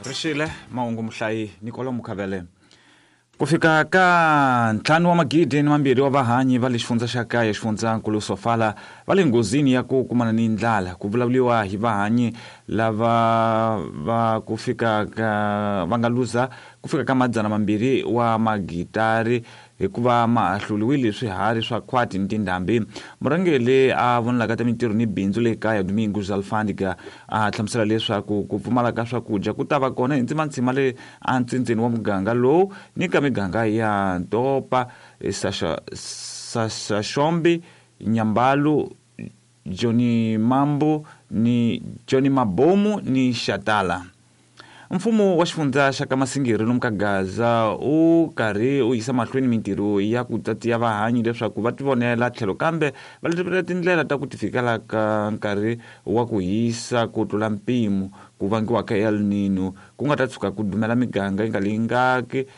Rixile mahungu muhlayi Nicola Mukhavele. Ku fika ka 2,200 wa vahanyi va le xifundza xa kaya xifundzankulu Sofala va le nghozini ya ku kumana ni ndlala. Ku vulavuriwa hi vahanyi lava va ku fika ka va nga luza ku fika ka 200 wa magitari hikuva ma hluliwile swiharhi swa khwati ni tindhambi. Murhangeri a vonelaka ta mintirho ni bindzu le kaya Domingos Alfândega a hlamusela leswaku ku pfumala ka swakudya ku ta va kona hi ndzimandzima le antsindzeni wa muganga lowu ni ka miganga ya Ntopa, Saxaxombi, Nyambalu, Joni Mambu ni Joni Mabomu ni Xatala. Mfumo wa xifundza xa ka Masingiri lomu ka Gaza u karhi u yisa mahlweni mintirho ya ku tatiya vahanyi leswaku va tivonela tlhelo kambe va letela tindlela ta ku tifikela ka nkarhi wa ku hisa ku tlula mpimo ku vangiwaka El Nino ku nga ta tshuka ku dumela miganga yi nga lingaki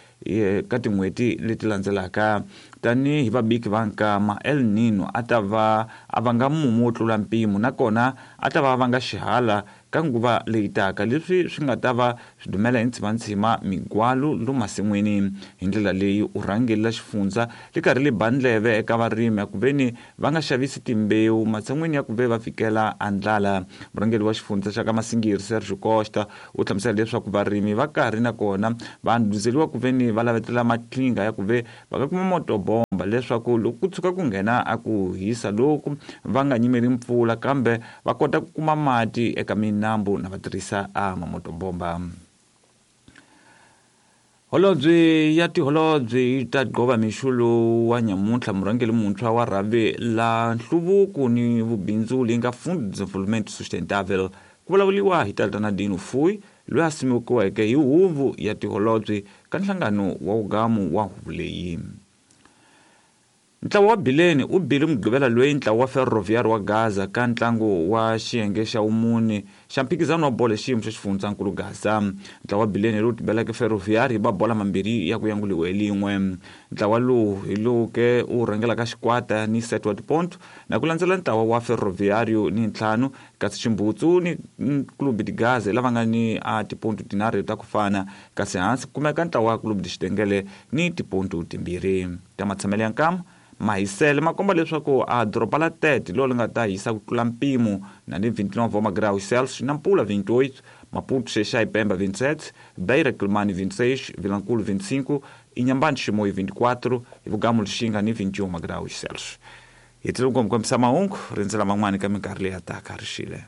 ka tin'hweti leti landzelaka. Tanihi vabiki va nkama, El Nino a ta va a vanga mumu wo tlula mpimo nakona a ta va a vanga xihala ka nguva leyi taka, leswi swi nga ta va swi dumela hi ntshimantshima migwalu lomu masin'wini. Hi ndlela leyi u rhangelela xifundza li karhi li ba ndleve eka varimi a ku veni va nga xavisi timbewu matshan'wini ya ku ve va fikela a ndlala. Murhangeri wa xifundza xa ka Masingiri Sergio Costa u hlamusela leswaku varimi va karhi na kona va ndhuzeliwa ku veni va lavetela maqhinga ya ku ve va nga kuma motobomba leswaku loko ku tshuka ku nghena a ku hisa loku va nga nyimeli mpfula kambe va kota ku kuma mati eka minambu na va tirhisa a mamotobomba. Holobye ya tiholobye yi ta gqova mixo lowu wa nyamuntlha murhangeri muntshwa wa rhavi la nhluvuko ni vubindzuli nga Fundo de Desenvolvimento Sustentável. Ku vulavuriwa hi Tatana Dino Fuyi loyi a simekiweke hi huvo ya tiholobye ka nhlangano wa wugamu wa huvo leyi. Ntlawa wa Bileni u bile Mugqivela loyi ntlawa wa Ferroviário wa Gaza ka ntlangu wa xiyenge xa vumune xa mphikizano wa bolo hi xiyimo xa xifundzankulu Gaza. Ntlawa wa Bileni lowu tibeleke Ferroviário hi mabola mambirhi ya ku yanguliwa hi lin'we. Ntlawa lowu hi lowu ke u rhangelaka xikwata ni 7 wa tiponto na ku landzela ntlawa wa Ferroviário ni 5 kasi Ximbutsu ni Clube de Gaza lava nga ni a tiponto tinharhu ta ku fana kasi hansi ku kumeka ntlawa wa Clube de Xitengele ni tiponto timbirhi. Ta matshamelo ya nkama mahisele ma komba leswaku a doroba la Tete lo li nga ta hisa ku tlula mpimo na ni 29 wa magraus Celsius, Nampula 28, Maputo Xexai Pemba 27, Beira Quelimane 26, Vilankulo 25, Inhambane Chimoio 24, hi Vugamu Lixinga ni 21 magraus Celsius. Hi tlhela ku kombisa mahungu rindzela man'wani ka minkarhi leyi ya taka rixile.